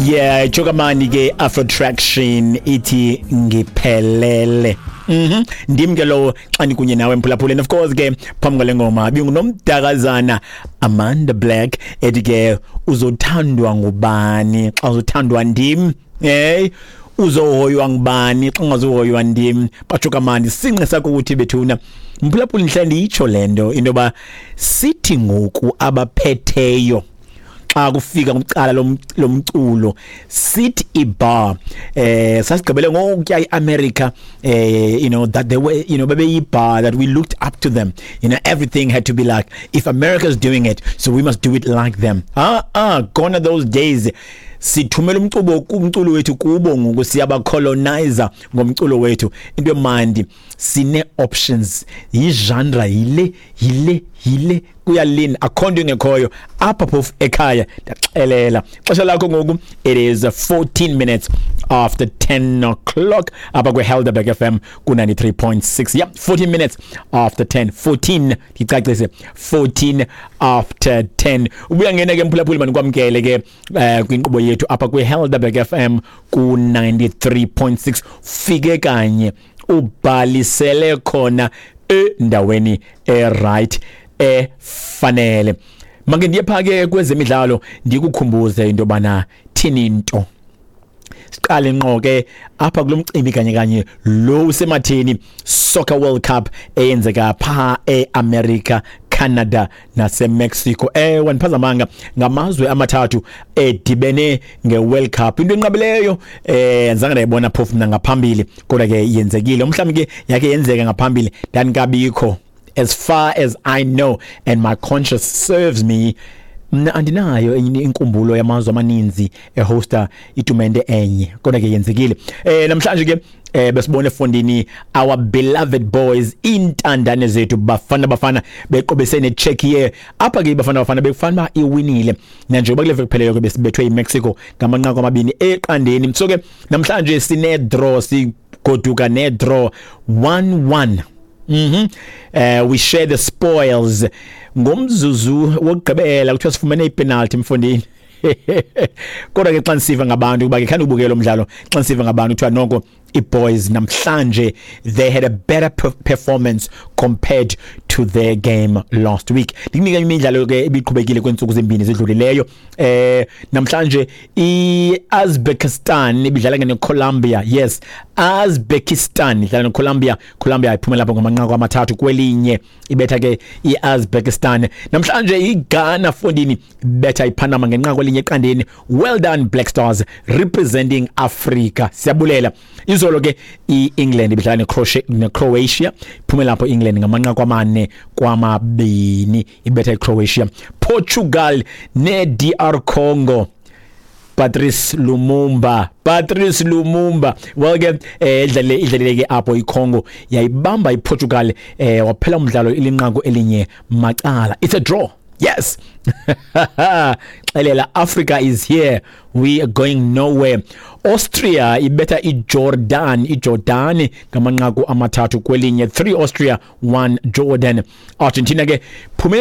Yeah, Chokamani ke Afro Traction ithi ngiphelele. Ndim ke lo xa ndikunye nawe, mphulaphula. And of course ke phambi kwale ngoma bingunomdakazana Amanda Black ethi ke uzothandwa ngubani xa uzothandwa ndim? Hey, uzohoywa ngubani xa ungazuhoywa ndim? Batsho kamandi sinqe sakho ukuthi bethuna, mphulaphula, ndihlala ndiyitsho le nto, into yoba sithi ngoku abaphetheyo xa kufika kumcala lomculo sithi ibar sasigqibele ngokutya iAmerica, that they were bebeyi bar that we looked up to them. Everything had to be like, if America is doing it, so we must do it like them. Ah ah, gone are those days. Sithumela umcubo, umculo wethu kubo ngoku, siyabacolonizer ngomculo wethu. Into emandi, sine options, yi-genre yile, yile, yile, kuyalini, akho nto ingekhoyo apha phofu ekhaya. Ndaxelela xesha lakho ngoku, it is 14 minutes after 10 o'clock apha kwe-Helderberg FM ku-93.6. Yep, 14 minutes after 10, 14, ndicacise, 14 after 10. Ubuya ngena ke, mphulaphuli, manikwamkele ke kwinkqubo yethu apha kwi-Helderberg FM ku-93.6. Fike kanye ubhalisele khona endaweni e-right efanele. Make ndiye pha ke kwezemidlalo, ndikukhumbuze into yobana thini into. Siqale ngqo ke apha kulo mcimbi kanye kanye lo usematheni, Soccer World Cup eyenzeka pha eAmerica, Canada naseMexico. Ewe, ndiphazamanga, ngamazwe amathathu edibene ngeWorld Cup, into enqabileyo, zange ndayibona phofu mna ngaphambili, kodwa ke yenzekile. Mhlawumbi ke yake yenzeka ngaphambili, ndandikabikho. As far as I know and my conscience serves me, mna andinayo enye inkumbulo yamazwe amaninzi ehosta itumente enye, kodwa ke yenzekile. Namhlanje ke besibone efondini our beloved boys, intandane zethu, Bafana Bafana, beqobese neCzechia. Apha ke Bafana Bafana bekufanele uba iwinile, nanjengoba kule veki kupheleyo ke besibethwe yiMexico ngamanqaku 2-0. So ke namhlanje sine draw, sigoduka ne draw 1-1. We share the spoils. Ngomzuzu wokugqibela kuthiwa sifumene ipenalty, mfondini. Kodwa ke xa ndisiva ngabantu kuba ke khani ubukela umdlalo, xa ndisiva ngabantu kuthiwa noko i-boys namhlanje they had a better performance compared to their game last week. Ndikunika imidlalo ke ibiqhubekile kweentsuku zimbini zidlulileyo. Namhlanje i-Uzbekistan ibidlala neColombia. Yes, Uzbekistan idlala neColombia. Colombia iphumela lapho ngamanqaku 3-1, ibetha ke i-Uzbekistan. Namhlanje iGhana, fondini, ibetha iPanama ngenqaku 1-0. Well done, Black Stars, representing Africa, siyabulela. Izolo ke iEngland ibidlala neCroatia, iphumela lapho England ngamanqaku 4-2, ibetha iCroatia. Portugal neDR Congo, Patrice Lumumba, Patrice Lumumba, well ke idlalile ke apho iCongo, yayibamba iPortugal, waphela umdlalo ilinqaku 1 macala. It's a draw. Yes, xelela, Africa is here, we are going nowhere. Austria ibetha iJordan, iJordan ngamanqaku 3-1, 3 Austria, 1 Jordan. Argentina ke phumelele.